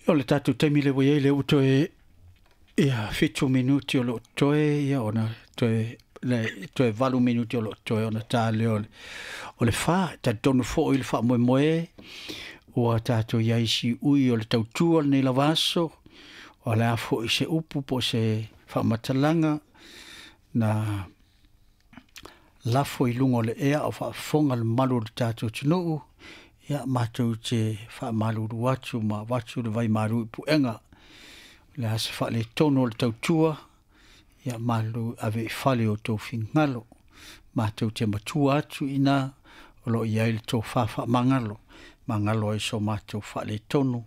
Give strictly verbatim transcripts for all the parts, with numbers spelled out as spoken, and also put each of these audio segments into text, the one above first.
O le tatou taimi le ua i ai lea ua toe ia fitu minuti o loo toe, ia ona toe le toe valu minuti o loo toe ona ta lea o le, o le fa. Talitonu foi le faamoemoe ua tatou i ai siui o le tautua lenei lava aso. O le a foi se upu po o se faamatalaga na lafo i luga o le ea o faafofoga le mamalu o le tatou atunuu, ia matou te faamalulu atu ma avatu le vaimalu i puega. O le a se faaletonu o le tautua, ia malu ave i fale o outou finagalo. Matou te matua atu i ina o lo o i ai le tofa faamagalo, magalo ai so matou faaletonu,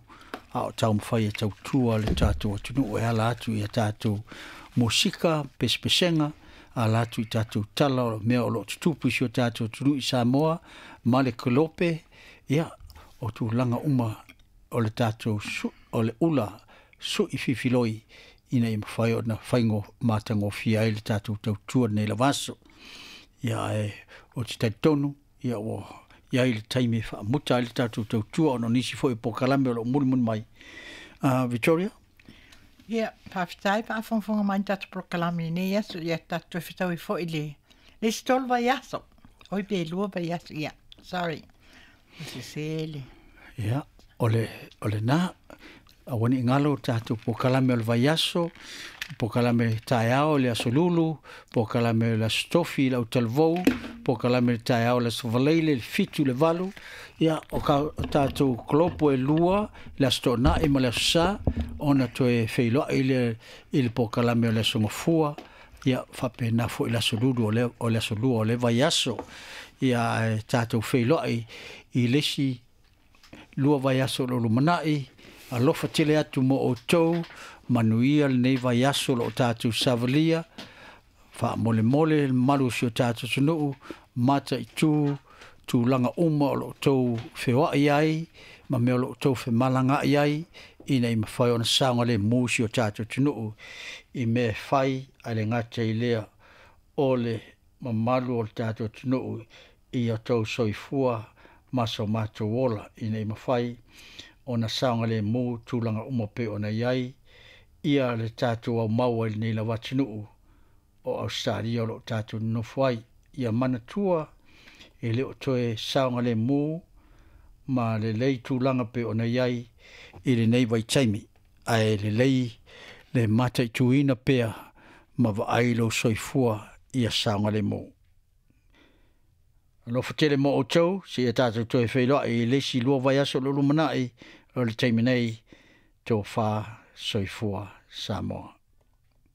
a o taumafai e tautua le tatou atunuu e ala atu i a tatou musika, pesepesega, ala atu i tatou tala o mea o lo o tutupu i si o tatou atunuu i Samoa ma le Kolope, ia o tulaga uma o le tatou su, o le ula sui fifiloi ina ia mafai ona faigo matagofie ai le tatou tautua lenei lava aso. Ia ae o te talitonu ia ua i ai le taimi e faamuta ai le tatou tautua ona o nisi foi o polokalame o lo o mulimuli mai. Uh, Victoria? Ia, faafetai faafogafoga mai i le tatou polokalame i lenei aso. Ia tatou toe fetaui foi le le isi tolu vaiaso. Oi pe lua vaiaso. Ia, sorry. Ua sese le. Ia, o le, o lena, aua ne i galo tatou polokalame o le vaiaso, polokalame taeao le aso Lulu, polokalame le aso Tofi le autalavou, polokalame le taeao le aso Faraile le fitu le valu, ia o ka o tatou kolopo e lua le aso Toonai ma le aso Sa, ona toe feiloai le i le polokalame o le aso Gafua, ia faapena foi le aso Lulu o le, o le aso Lua o le vaiaso. Ia ae tatou feiloai i le isi lua vaiaso o lo o lumanai. Alofa tele atu mo outou, manuia lenei vaiaso o lo o tatou savalia, faamolemole le mamalu o si o tatou atunuu, mataitu tulaga uma o lo o outou feoai ai ma mea o lo o outou femalagaai ai, ina ia mafai ona saogalemu si o tatou atunuu i mea e fai, ae le gata i lea o le mamalu o le tatou atunuu i o outou soifua ma so matou ola, ina ia mafai ona saogalemu tulaga uma pei ona i ai ia le tatou aumau ai lenei lava atunuu o Ausetalia o lo o tatou nonofo ai. Ia manatua e le o toe saogalemu ma lelei tulaga pei ona i ai i lenei vaitaimi, ae lelei le mataituina pea ma vaai lou soifua ia saogalemu. Alofa tele mo outou, seia tatou toe feiloai i le isi lua vaiaso o lo o lumanai, o le taimi nei, tofa soifua Samoa.